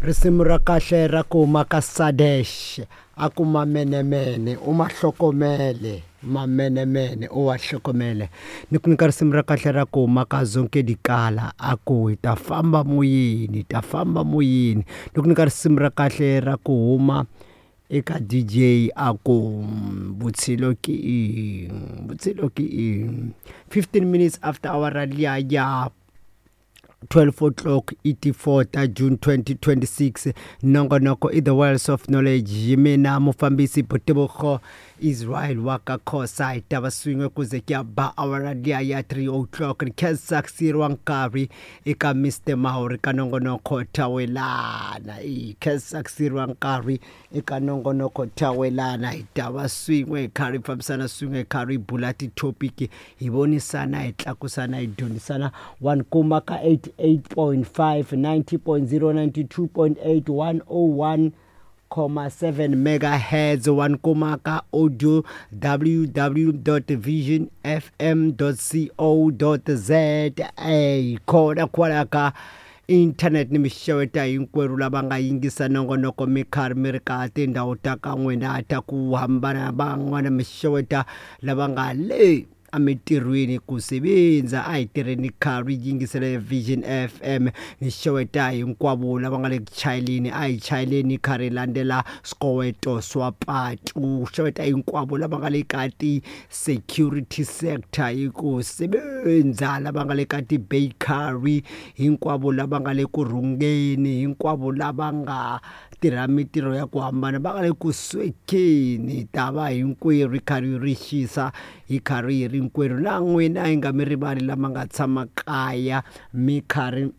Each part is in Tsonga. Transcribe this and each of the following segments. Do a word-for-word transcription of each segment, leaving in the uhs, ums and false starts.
Risimu ra kahle ra ku huma ka Sadesh a ku mamenemene u ma hlokomele mamenemene u wa hlokomele ni ku nyika risimu ra kahle ra ku huma ka Zonke Dikala a ku hi ta famba moyeni hi ta famba moyeni ni ku nyika risimu ra kahle ra ku huma eka D J a ku vutshilo ke eng vutshilo ke eng fifteen minutes after hour liya ya twelve o'clock eighty-four ta June twenty twenty-six nongonoko i the Wells of Knowledge hi mina mufambisi Botebugo Israel wa ka Khosa hi ta va swin'we ku ze ku ya ba awara liya ya three o'clock ni khensa ku siyeriwa nkarhi eka Mister Mahori ka nongonoko Thawelana i khensa ku siyeriwa nkarhi eka nongonoko Thawelana hi ta va swin'we hi karhi hi fambisana swin'we hi karhi hi bula ti-topic hi vonisana hi tlakusana hi dyondzisana one kuma ka eighty-eight point five, ninety point zero, ninety-two point eight, one oh one comma seven megahertz one kuma ka audio w w dot vision f m dot co dot z a khona kwala ka internet ni mixeweta hinkwerhu lava nga yingisa nongonoko mi karhi mi ri ka tindhawu ta ka n'wina ta ku hambana van'wana mixeweta lava nga le emitirhweni ku sebenza a hi tirheni karhi yingisele Vision F M ni xeweta hinkwavo lava nga le ku chayeleni a hi chayeleni karhi landzela swikoweto swa patu xeweta hinkwavo lava nga le ka ti-security sector hi ku sebenza lava nga le ka ti-bakery hinkwavo lava nga le ku rhungeni hinkwavo lava nga tirha mitirho ya ku hambana va nga le ku swekeni ta va hinkwerhu hi karhi ri xisa hi karhi hi ri hinkwerhu na n'wina hi nga mi rivali lama nga tshama kaya mi karhi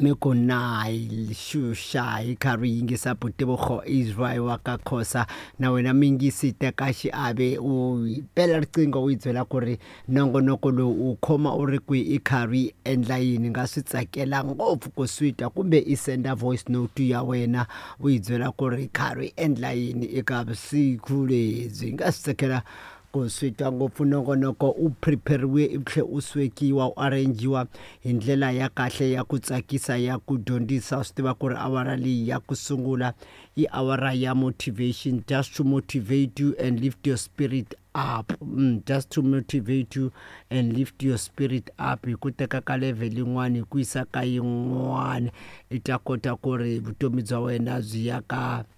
mi ku na hi xuxa hi karhi yingisa Botebugo Israel wa ka Khosa na wena mingisi teka xiave u bela riqingho u yi byela ku ri nongonoko lowu u khoma u ri kwihi i karhi endla yini nga swi tsakela ngopfu ku swi twa kumbe i senda voice note ya wena u yi byela ku ri karhi endla yini eka vusiku lebyi nga swi tsakela ku swi twa ngopfu nongonoko u prepare-riwe u tlhe u swekiwa u arrange-iwa hi ndlela ya kahle ya ku tsakisa ya ku dyondzisa swi tiva ku ri awara leyi ya ku sungula i awara ya motivation just to motivate you and lift your spirit up mm, just to motivate you and lift your spirit up hi ku teka ka level yin'wana hi ku yisa ka yin'wana i ta kota ku ri vutomi bya wena byi ya ka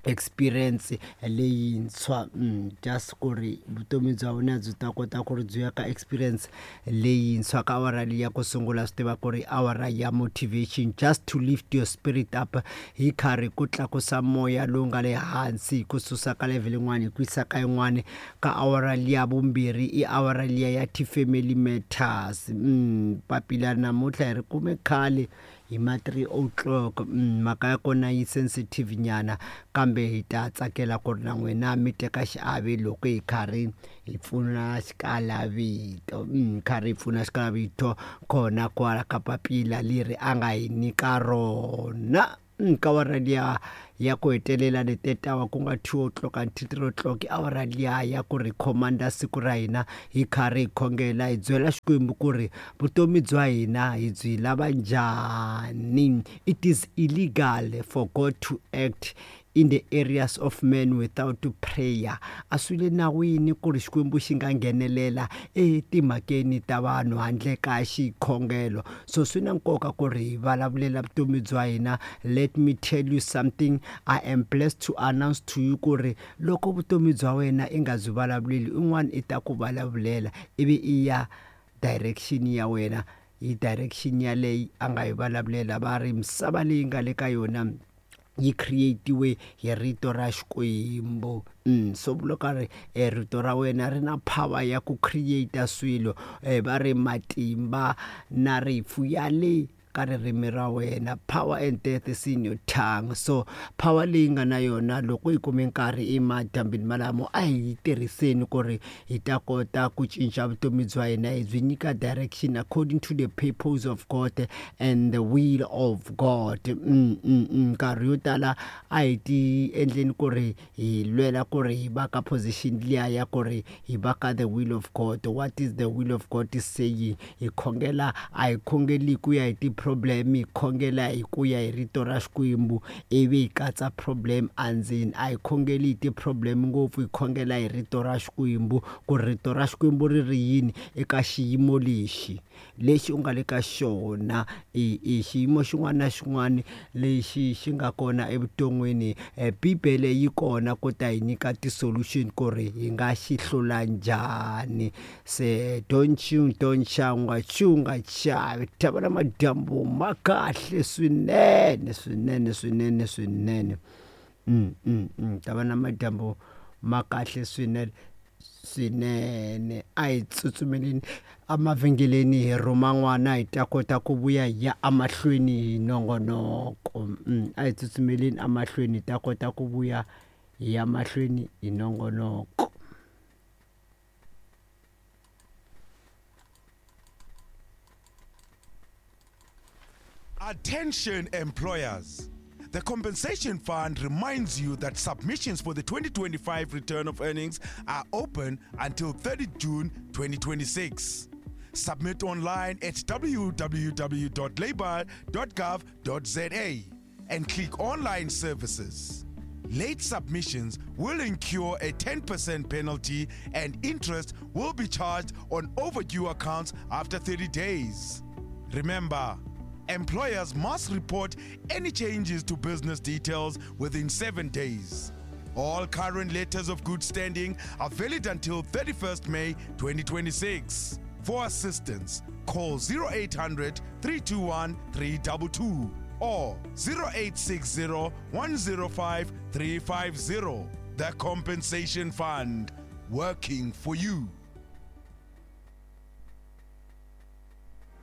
experience leyintshwa mm, just ku ri vutomi bya wena byi ta kota ku ri byi ya ka experience leyintshwa ka awara leyi ya ku sungula swi tiva ku ri awara ya motivation just to lift your spirit up hi karhi ku tlakusa moya lowu nga le hansi hi ku susa ka level yin'wana hi ku yisa ka yin'wana ka awara liya vumbirhi i awara liya ya ti-family matters mm, papila namuntlha hi ri kume khale hi ma three o'clock mhaka ya kona yi sensitive nyana kambe hi ta tsakela ku ri na n'wina mi teka xiave loko hi karhi hi pfuna xikalavito karhi hi pfuna xikalavito kona kwala ka papila leri a nga hi nyika rona ka awara liya ya ku hetelela letetawa ku nga two o'clock until three o'clock awara liya ya ku ri khomanda siku ra hina hi karhi hi khongela hi byela Xikwembu ku ri vutomi bya hina hi byi lava njhani. It is illegal for God to act in the areas of man without prayer. A swi le nawini ku ri Xikwembu xi nga nghenelela etimhakeni ta vanhu handle ka xikhongelo. So swi na nkoka ku ri hi vulavulela vutomi bya hina. Let me tell you something, I am blessed to announce to you ku ri loko vutomi bya wena i nga byi vulavuleli un'wana i ta ku vulavulela ivi i ya direction ya wena hi direction yaleyi a nga yi vulavulela. Va ri misava leyi nga le ka yona yi create-iwe hi rito ra Xikwembu. Mm, so vula ka ri e rito ra wena ri na power ya ku create swilo eh, va ri matimba na rifu ya le ka ririmi ra wena, power and death is in your tongue. So power leyi nga na yona loko hi kume nkarhi emadyambini malamo a hi yi tirhiseni ku ri hi ta kota ku cinca vutomi bya hina hi byi nyika direction according to the purpose of God and the will of God. Mm, mm, mm. Nkarhi yo tala a hi ti endleni ku ri hi lwela ku ri hi va ka position liya ya ku ri hi va ka the will of God. What is the will of God is saying? Hi khongela a hi khongeli ku ya hi ti ti-problem hi khongela hi ku ya hi rito ra Xikwembu ivi hi katsa problem andzeni. A hi khongeli hi ti-problem ngopfu, hi khongela hi rito ra Xikwembu ku rito ra Xikwembu ri ri yini eka xiyimo lexi lexi u nga le ka xona. I i xiyimo xin'wana na xin'wana lexi xi nga kona evuton'wini, Bibele yi kona ku ta hi nyika ti-solution ku ri hi nga xi hlula njhani. Se don't you don't cha u nga chu u nga chavi, tava na madyambu ma kahle swinene swinene swinene swinene. Mm mm mm tava na madyambu ma kahle swinene swinene. A hi tsutsumeleni emavhengeleni hi rhuma n'wana hi ta kota ku vuya hi ya emahlweni hi nongonoko. Mm a hi tsutsumeleni emahlweni hi ta kota ku vuya hi ya mahlweni hi nongonoko. Attention employers. The Compensation Fund reminds you that submissions for the twenty twenty-five return of earnings are open until thirtieth June twenty twenty-six. Submit online at w w w dot labour dot gov dot z a and click Online Services. Late submissions will incur a ten percent penalty and interest will be charged on overdue accounts after thirty days. Remember, employers must report any changes to business details within seven days. All current letters of good standing are valid until thirty-first May twenty twenty-six. For assistance, call zero eight hundred, three two one, three two two or zero eight six zero, one zero five, three five zero. The Compensation Fund, working for you.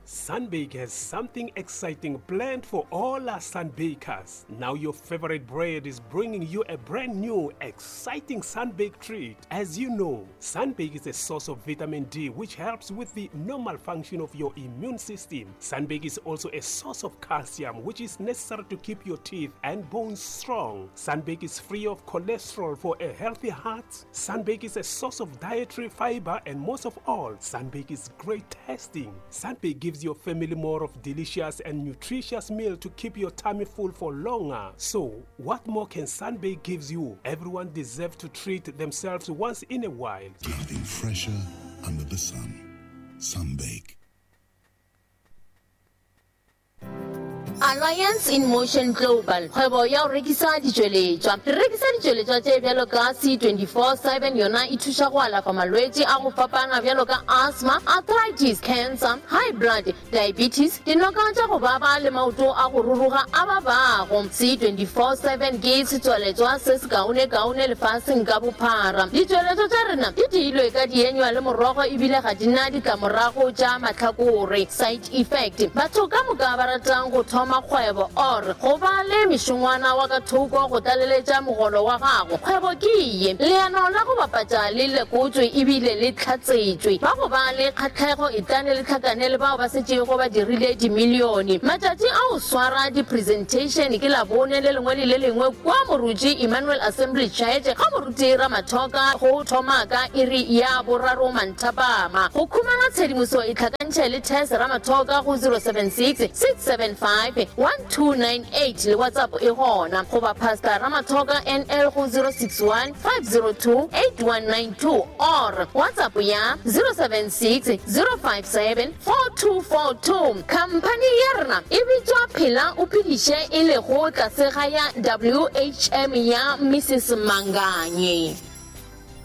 Sunbake has something exciting planned for all our Sunbakers. Now your favorite bread is bringing you a brand new, exciting Sunbake treat. As you know, Sunbake is a source of vitamin D, which helps with the normal function of your immune system. Sunbake is also a source of calcium, which is necessary to keep your teeth and bones strong. Sunbake is free of cholesterol for a healthy heart. Sunbake is a source of dietary fiber, and most of all, Sunbake is great tasting. Sunbake gives your family more of delicious and nutritious meal to keep your tummy full for longer. So, what more can Sunbake gives you? Everyone deserves to treat themselves once in a while. Nothing fresher under the sun. Sunbake. Alliance in Motion Global, kgwebo ya go rekisa ditšweletšwa. Re rekisa ditšweletšwa tše bjalo ka C twenty-four seven, yona e thuša go alafa malwetši a go fapana bjalo ka asthma, arthritis, cancer, high blood, diabetes, dinoka tša go baba le maoto a go ruruga a babago. C twenty-four seven ke setswaletšwa se se kaone-kaone lefaseng ka bophara. Ditšweletšwa tša rena di diilwe ka dienywa le morogo ebile ga di na ditlamorago tša mahlakore, side effect. Batho ka moka ba ratang go thoma kgwebo or go ba le mešongwana wa ka thoko go tlaleletša mogolo wa gago, kgwebo ke ye. Leano la go bapatša le lekotswe ebile le tlhatsetšwe. Ba go ba le kgatlhego e tlane le tlhakane le bao ba setšego ba dirile dimilione. Matšatši a go swara di-presentation ke Labone le lengwe le le lengwe kwa Moruti Emmanuel Assembly Church ga Moruti Ramathoka go thoma ka iri ya boraro manthapama. Go khumana tshedimoso e tlhakantšhe le Tess Ramathoka go zero seven six, six seven five, one two nine eight le WhatsApp e gona, goba Pastor Ramathoka N L go zero six one, five zero two, eight one nine two or WhatsApp ya zero seven six, zero five seven, four two four two. Company ya rena e bitswa Phela o Phediše e lego tlase ga ya W H M ya Missus Manganye.